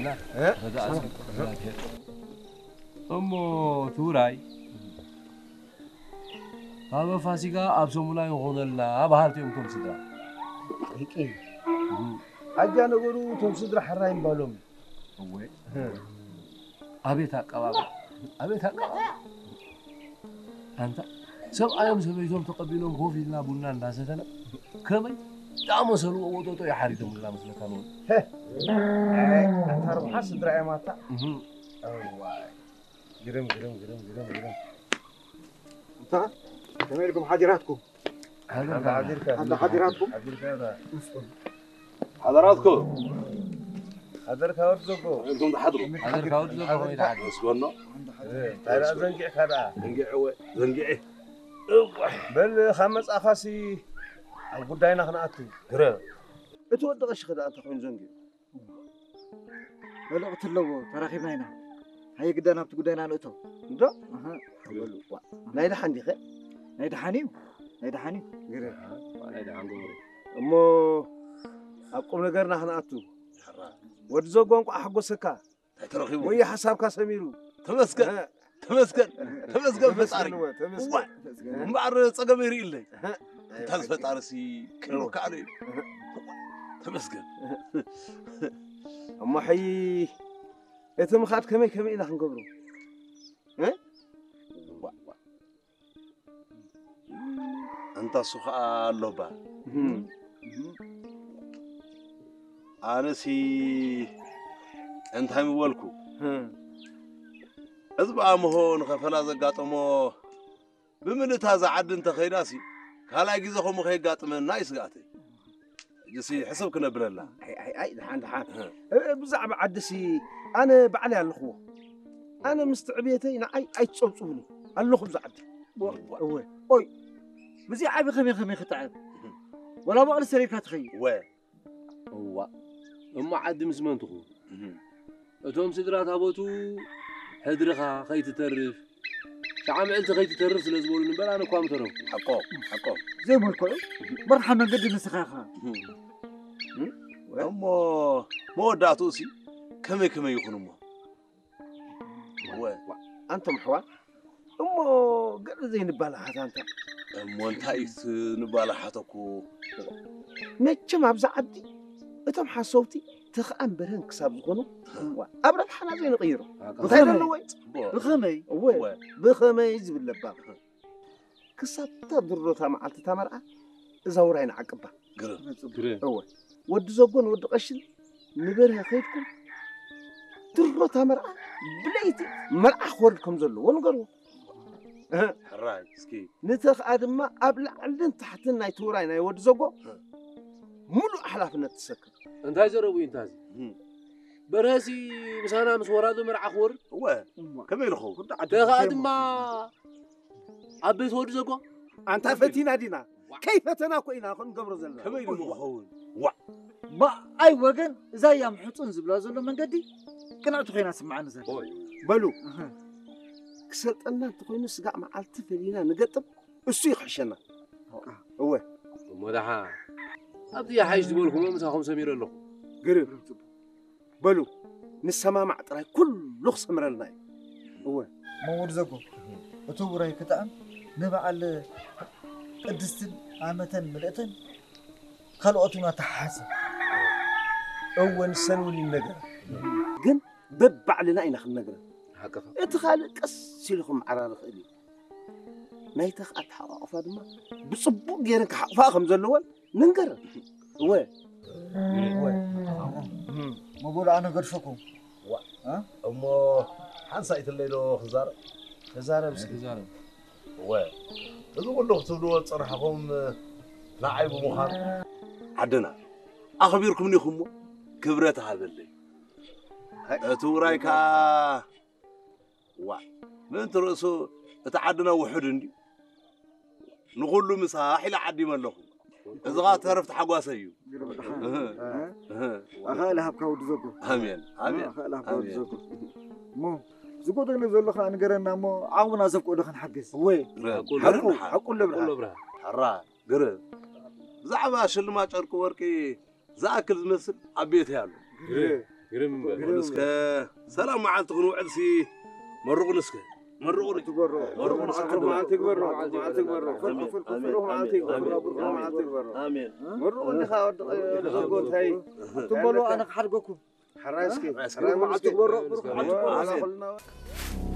እ? ተጋኣዝኩ እግዚኣብሔር። እሞ እቲ ውራይ ኣብ ፋሲካ ኣብ ሰሙና ይኾነልና በሃልቲ እዮም እቶም ስድራ። ደቂ። እም። ኣጃ ነገሩ እቶም ስድራ ሕራይ ምባሎም። እወ። እ። ኣቤት ኣቀባብላ፣ ኣቤት ኣቀባብላ። ኣንታ ሰብኣዮም ሰበይቶም ተቐቢሎም ኮፍ ኢልና ቡና እንዳሰተና ከመይ ዳመሰልዎ ወጠጦ እዩ ሓሪዶምልና መስለካ ንብል። ሄ! ኣይ፣ ኣታ ርብሓ ስድራ እዮም ኣታ። እህ። እዋይ። ግርም፣ ግርም፣ ግርም፣ ግርም፣ ግርም። እንታ፣ ከመይ ኢልኩም ሓዲራትኩም? ሓደርካ። ሓንዳ ሓዲራትኩም? ሓደርካ። ሓደራትኩም። ሓደርካ ወዲ ዘጎ። እንቱም ትሓድሩ። ሓደርካ ወዲ ዘጎ ከመይ ትሓድሩ? እስጎኖ። እ፣ እንታይ ደኣ ዘንጊዕካ ደኣ? ዘንጊዐ እወ፣ ዘንጊዐ። እዋይ። በል፣ ካብ መጻእኻሲ ኣብ ጉዳይና ክንኣቱ። ግረ። እቲ ወዲ ቀሺ ከ ደኣ እንታይ ኮይኑ ዘንጊዑ? መልእኽቲ ኣለዎ፣ ተራኺብና ኢና። ሃየ ግዳ ናብቲ ጉዳይና ንእቶ። እንዶ? ኣሃ። በሉ፣ ዋ። ናይ ደሓን ዲኸ? ናይ ደሓን እዩ። ናይ ደሓን እዩ። ግረ። ናይ ደሓን ገበሩ። እሞ ኣብ ቁም ነገርና ክንኣቱ። ወዲ ዘጎ እንቋዕ ሓጎሰካ። እንታይ ተረኺቡ? ወይ ሓሳብካ ሰሚሩ። ተመስገን። እህ። ተመስገን። ተመስገን ፈጣሪ። ተመስገን እወ፣ ተመስገን። ዋይ። ተመስገን። እምበኣር ጸገመይ ርእይለይ። እህ። እንታይ ፈጣርሲ ክብረካ ኣለ እዩ። እህ። ተመስገን። እሞ ሕይ እቲ ምኻድ ከመይ ከመይ ኢና ክንገብሮ? እ? ዋእ፣ ዋእ። ኣንታ እሱ ኸኣ ኣሎ እባ። እህም። ኣነሲ እንታይ ምበልኩ? እህም። እዚ ብኣምሆ ንኸፈላ ዘጋጠሞ ብምልእታ እዛ ዓዲ እንተኸይዳሲ፣ ካልኣይ ግዜ ከምኡ ከየጋጥመና እዩ ስግኣተይ። ሕጂሲ ሕስብ ክነብለላ። ኣይ፣ ኣይ፣ ኣይ፣ ደሓን፣ ደሓን። እህ። እ፣ ብዛዕባ ዓድሲ ኣነ ባዕለይ ኣለኹዎ። ኣነ ምስቲ ዕብየተይ ንዓይ ኣይትጸብጽቡኒ። ኣለኹ ብዛ ዓዲ። እወ። ኦይ፣ ብዚ ዓቢ ከመይ ከመይ ክትዕብ? እህ። ወላ በቕሊ ሰሪርካ ትኸይድ። እወ። እዋእ፣ እሞ ዓዲ ምስ መን ትኹን? እህ። እቶም ስድራ ታቦቱ ሕድርኻ ከይትተርፍ፣ ሸዓ ምዕልቲ ከይትተርፍ ስለ ዝበሉኒ እምበር ኣነ እኳ ምተረፍኩ። ሓቆም፣ ሓቆም። ዘይመልክዑ፣ መርሓ መንገዲ ንስኻ ኢኻ። እህ። እም? እሞ መወዳእትኡሲ ከመይ ከመይ ይኹን እሞ? እወ፣ ኣንቶም ኣሕዋት፣ እሞ ገለ ዘይንባላሓት ኣንታ። እሞ እንታይ እዩ እቲ ንባላሓተኩ? መቸም ኣብዛ ዓዲ እቶም ሓሰውቲ ተኽኣን በርሀን ክሳብ ዝኾኑ፣ እዋ፣ ኣብ ረብሓና ዘይንቕይሮ። ኣቃ። እንታይ ብኸመይ? ዘለዎ እዩ? ጽቡቕ። ብኸመይ? እወ፣ እወ። ብኸመይ ዝብል ለባም። ክሳብ እታ ድሮታ መዓልቲ እታ መርዓ እዛ ውራይ ንዓቅባ። ግርም። ግርም። እወ። ወዲ ዘጎን ወዲ ቀሽን ንበርሀ ከይድኩም ድሮታ መርዓ ብለይቲ መርዓ ክወርድ ከም ዘለዎ ንገርዎ። እህ። ሕራይ፣ እስኪ። ንተኽኣ ድማ ኣብ ላዕልን ታሕትን ናይ ትውራይ ናይ ወዲ ዘጎ እህ። ሙሉእ ሓላፍነት ትሰክም። እንታይ ዘረቡ እዩ እንታዚ? እህ። በርሀሲ ምሳና ምስ ወራዶ መርዓ ክወርድ? እወ። እሞ። ከመይ ኢሉ ኸውን? ተኽኣ ድማ ኣብ ቤት ወዲ ዘጎ? ኣንታ ፈቲና ዲና? ከይፈተና እኮ ኢና ክንገብሮ ዘለና። ከመይ ኢሉ ክኸውን? ዋእ። ብኣይ ወገን እዛ እያ ምሕጹን ዝብላ ዘሎ መንገዲ ቅንዕቲ ኮይና ስምዓኒ ዘላ። ኦይ። በሉ። ኣሃ። ክሰልጠና እንተኾይኑ ስጋዕ መዓልቲ ፈሊና ንገጥም፣ እሱ ይኽሕሸና። እወ። እሞ ደሓን። ኣብቲ ይሓይሽ ዝበልኩሞ ምሳኹም ሰሚረ ኣለኹ። ግርም። በሉ፣ ንሰማማዕ ጥራይ ኩሉ ክሰምረልና እዩ። እወ። እሞ ወዲ ዘጎ፣ እቲ ውራይ ክጥዕም ንበዓል ቅድስትን ዓመተን ምልእተን ካልኦት እውን ኣተሓሓዘ። እወ፣ ንሰን እውን ይነገራ። ግን በባዕልና ኢና ክንነግረን። ሓቅኻ። እቲ ካልእ ቀስ ኢሉ ክመዓራረ ይኽእል እዩ። ናይታ ኣተሓቋቑፋ ድማ ብጽቡቕ ገይረን ክሓቑፋ ከም ዘለወን ንንገረን። እወ። እወ። እም። መጎሉ ኣነ ገድፈኩም። ዋ። እ? እሞ ሓንሳእ ኣይትለይ ዶ ክዛረብ? ተዛረብ እስኪ። ተዛረብ። እወ። እዚ ኩሉ ክትብልዎ ዝጸናሕኩም ንዓይ ብምዃኑ ዓድና ኣኽቢርኩምኒ ኢኹም እሞ ክብረት ሃበለይ። እቲ ውራይ ከኣ ዋ፣ ምእንቲ ርእሱ እቲ ዓድና ውሑድ እንድዩ። ንኹሉ ምሳሕ ኢለ ዓዲመ ኣለኹ። እዚ ኸኣ ተረፍ ተሓጓሰ እዩ። እህ፣ እህ። ኣኻእል ሃብካ ወዲ ዘጎ። ኣሜን፣ ኣሜን፣ ኣኻእል ሃብካ ወዲ ኣሜን። ዘጎ። እሞ ዝጎደሎ ዘሎ ኸኣ ንገረና እሞ ዓቕምና ዘብቅዶ ክንሓግዝ። እወ። ግርም፣ ሓቁ፣ ግርም ሓቁ፣ ሓቁ ለብርሃ። ሓቁ ለብርሃ። ሓራ፣ ግርም። ብዛዕባ ሽልማት ጨርቂ ወርቂ ዝኣክል ዝመስል ኣብ ቤተይ ኣሎ። ግርም። ግርም እምበር። እስከ ሰላም መዓልቲ ክንውዕል ሲ መርቑኒ እስከ። መርቑኒ። ትግበሮ። መርቑኒ እስከ። ብሩኽ መዓልቲ ይግበሮ። መዓልቲ ይግበሮ። ፍርቂ ፍርቂ ብሩኽ መዓልቲ ይግበሮ። ብሩኽ መዓልቲ ይግበሮ። ኣሜን። መርቑኒ ኻ ወዲ ኸጎንታይ። ትበሎ ኣነ ክሓድገኩም። ሕራይ እስኪ። ሕራይ መዓልቲ ይግበሮ። ብሩኽ መዓልቲ ይግበሮ። ኣሜን።